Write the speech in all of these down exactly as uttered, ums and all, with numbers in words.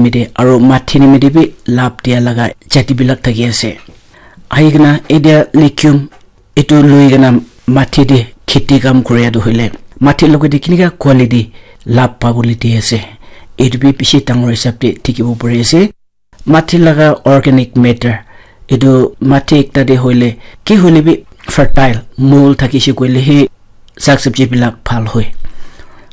nimite aro mathi nimite bi lab dia laga jati bilak thaki ase. Ahi kena etia legume etu lui kena mathi te kheti kam kuria tu hoile mathi logote kinika quality lab pabole di ase, etu bi bishi dangor hisab te dikhibo pari ase. Mathi laga organic matter, etu mathi ekta te hoile ki hoile bi fertile mold thakishe koile he sak sabji bilak bhal hoi.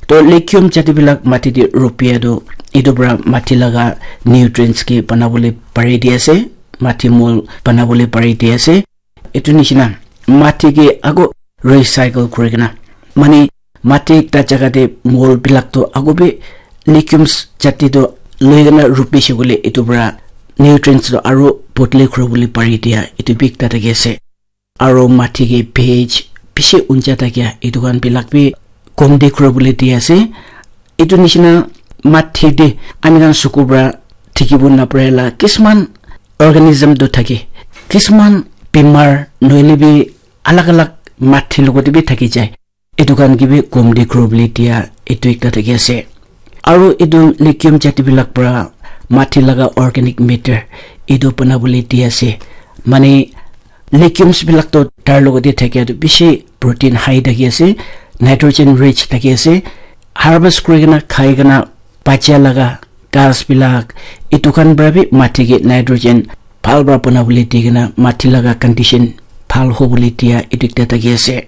To legume jati bilak mathi te rupia tu etu para mathi laga nutrients ke banabole pari di ase, mathi mold banabole pari di ase. Etu nishina mathi ke ako recycle kuri kena, mane mathi ekta jaga te mold bilak to ako bi legumes jati to loi kena rupi shikule etu para nutrients to aro bodle kuri bole pari dia etu bi ekta thaki ase. Aro mathi ke pH bishi unja thakia etu khan bilak bi kom de kuri bole di ase. Etu nishina mathi te ami khan suku para dikhibo napare la kisman organism tu thake, kisman bimar nohoile bi alag alag mathi logote bi thaki jai. Etu khan ke bi kom de kuri bole dia etu ekta thaki ase. Aro etu legume jati bilak para mathi laga organic matter etu banabole di ase. Mane legumes bilak to tar logote thakia tu bishi protein high thaki ase, nitrogen rich thaki ase. Harvest kuri kena khai kena bacha laga ghas bilak etu khan para bi mathi ke nitrogen bhal para banabole di kena mathi laga condition bhal hobole dia etu ekta thaki ase.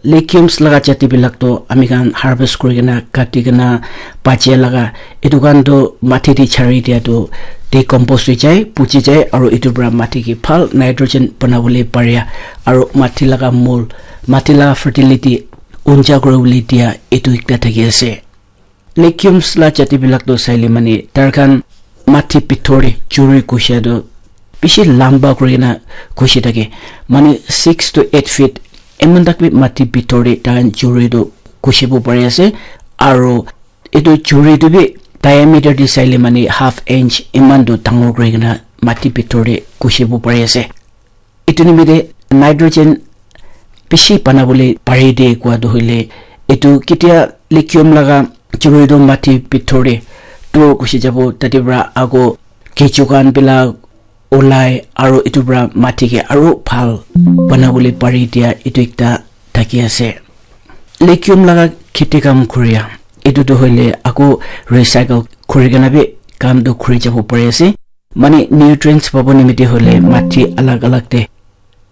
Legumes laga jati bilak to ami khan harvest kuri kena kati kena bacha laga etu khan to mathi te chari dia to decompose hoi jai, puchi jai, aro etu para mathi ke bhal nitrogen banabole paria, aro mathi laga mold, mathi laga fertility unja kuri bole dia etu ekta thaki ase. Legumes la jati bilak to saile mane tar khan mathi bithor te churi kusia to bishi lamba kuri kena kusi thake, mane six to eight feet eman tak bi mathi bithor te tar khan churi to kusibo pari ase. Aro etu churi tu bi diameter te saile mane half inch eman tu dangor kuri kena mathi bithor te kusibo pari ase. Etu nimite nitrogen bishi banabole pari de kua tu hoile etu ketia legume laga churi tu mathi bithor te dur kusi jabo tate para ako kechu khan bilak ulai aro etu para mathi ke aro bhal banabole pari dia etu ekta thaki ase. Legume laga kheti kam kuria etu tu hoile ako recycle kuri kena bi kam tu kuri jabo pari ase. Mane nutrients pabo nimite hoile mathi alag alag te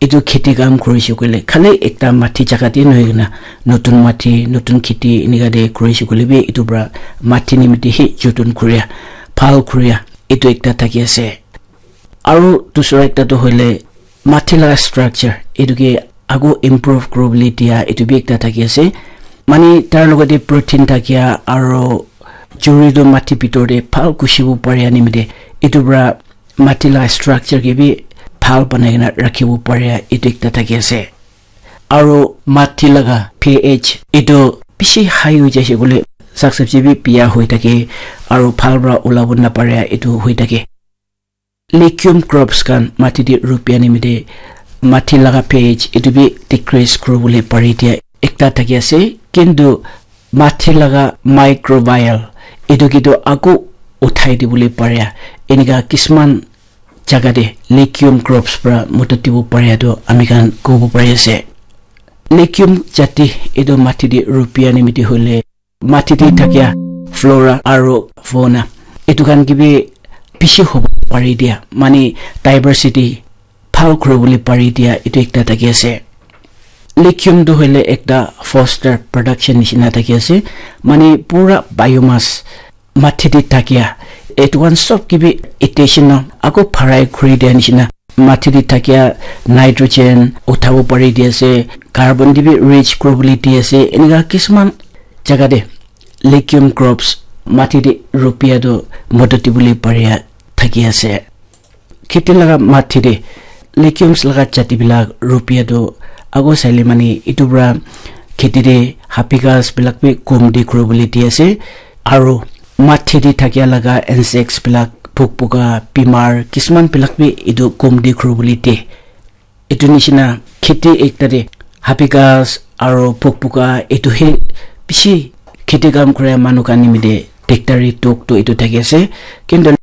etu kheti kam kuri shey koile khali ekta mathi jaga te nohoi kena notun mathi notun kheti enika te kuri shey koile bi etu para mathi nimite he joton kuria bhal kuria etu ekta thaki ase. Aro dusra ekta tu hoile mathi laga structure etu ke ago improve kuri bole dia etu bi ekta thaki ase. Mane tar logote protein thakia aro churi tu mathi bithor te bhal kusibo paria nimite etu para mathi laga structure ke bi bhal banai kena rakhibo paria etu ekta thaki ase. Aro mathi laga pH etu bishi high hoi jaise koile sak sabji bi biya hoi thake aro bhal para ulabo naparia etu hoi thake. Legume crops khan mathi te rupia nimite mathi laga pH etu bi decrease kuri bole pari dia ekta thaki ase, kintu mathi laga microbial etu ke tu ako uthai dibole paria enika kisman jaga te legume crops para modot dibo paria tu ami khan kobo pari ase. Legume jati etu mathi te rupia nimite hoile mathi te thakia flora aro fauna etu khan ke bi bishi hobo pari dia, mane diversity bhal kuri bole pari dia etu ekta thaki ase. Legume tu hoile ekta foster production nishina thaki ase, mane pura biomass mathi te thakia etu khan sob ke bi attention na ako bharai kuri dia nishina mathi te thakia nitrogen uthabo pari di ase, carbon te bi rich kuri bole di ase, enika kisman jaga te legume crops mathi te rupia tu modot dibole paria thaki ase. Kheti laga mathi te legumes laga jati bilak rupia tu ago saile mane etu para kheti te hapi ghas bilak bi kom de kuri bole di ase, aro mathi te thakia laga insects bilak pok poka bimar kisman bilak bi etu kom de kuri bole de. Etu nishina kheti ekta te hapi ghas aro pok poka etu he bishi kheti kam kura manu khan nimite Dictionary tok to etu thaki ase. Kintu